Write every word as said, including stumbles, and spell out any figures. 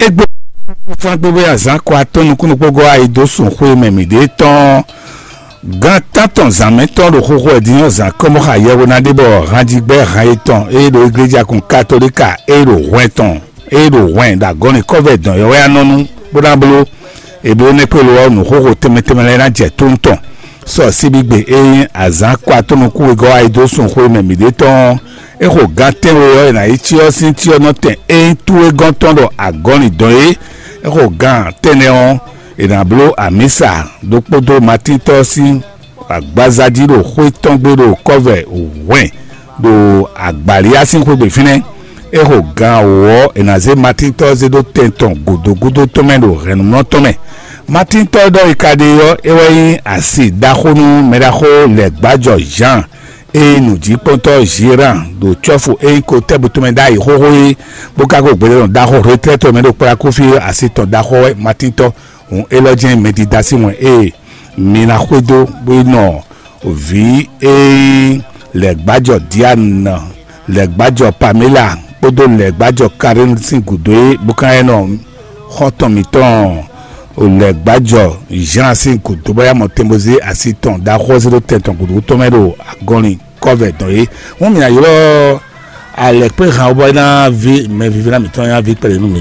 Égbé fán gbégbé azǎn kɔ atɔ́ nukúnnú kpógó ayi dó sun xwé mɛ mǐ ɖe tɔn. Gán tántɔn zǎn mɛtɔn ɖo xóxó ɛ din ɔ́, zǎn kɔ́mɔxa yɛhwe ná ɖe bɔ hanjigbɛ han yětɔn e ɖo igleja kun katolika e ɖo hwɛn tɔn e ɖo hwɛn ɖo agɔ́nì kɔ́vɛ dɔn yɔ́ wɛ anɔnu bó ná bló. Ebléwúnɛ́kpélo ɔ́, nǔxoxo tɛnmɛ tɛnmɛ lɛ́ɛ ná jɛ tónú tɔn. Sɔ síbígbe e nyí azǎn kɔ atɔ́ nukún wegɔ́ ayi dó sun xwé mɛ mǐ ɖe tɔn ɔ́, é xo gán tɛ́nwe ɔ́, è nǎ yi cyɔ sín cyɔ́nɔtɛn e nyí túwegɔ́ntɔn ɖo agɔ́nì dɔn é. É xo gán tɛ́nnɛ ɔ́, è nǎ bló amǐsa ɖokpó dó Matíntɔ́ sín agbaza jí ɖo xwé tɔn gbe ɖo kɔ́vɛ hwɛn ɖo agbǎliá sín xwé gbe fínɛ́. É xo gán wǒ ɔ́, è nǎ zé Matíntɔ́ zé ɖó tɛn tɔn gǔdo gúdo tɔn mɛ ɖo hɛ̌nnumlɔ́ tɔn mɛ. Matíntɔ́ ɖɔ è ka ɖe ɔ́, é wɛ nyí asi ɖaxó nú mɛɖaxó lɛ̌gbájɔ Jean e nyí nǔjíkpɔ́ntɔ́ Gérard ɖo cɔ́fu e nyí kotɛ́bu tɔn mɛ ɖ'ayǐ xóxó é, bó ka ko gbɛɖɔ́nɔ ɖaxó hletlɛ́tɔ́ mɛ ɖo kplá kó fí asi tɔn ɖaxó wɛ Matíntɔ́. Hǔn élɔ́ jɛ́n mɛdídá sín wɛn ée mi ná xwedó bó yi nɔ vǐ e nyí lɛ̌gbájɔ Diane, lɛ̌gbájɔ Pamela kpódó lɛ̌gbájɔ Karine sín gǔdo é, bó ka nyí nɔ xɔ́ntɔn mǐtɔn lɛ̌gbájɔ Jean sín gǔdo bó yá mɔ tɛnbozí asi tɔn ɖaxó ɔ́ zé ɖó tɛn tɔn gǔdo tɔn mɛ ɖo agɔnlin kɔ́vɛ dɔn é. Hǔn mǐ ná ylɔ́ alɛ̌kpéhan ɔ́ bɔ é ná ví mɛvívínɔ mǐtɔn ná ví kpɛɖé nú mǐ.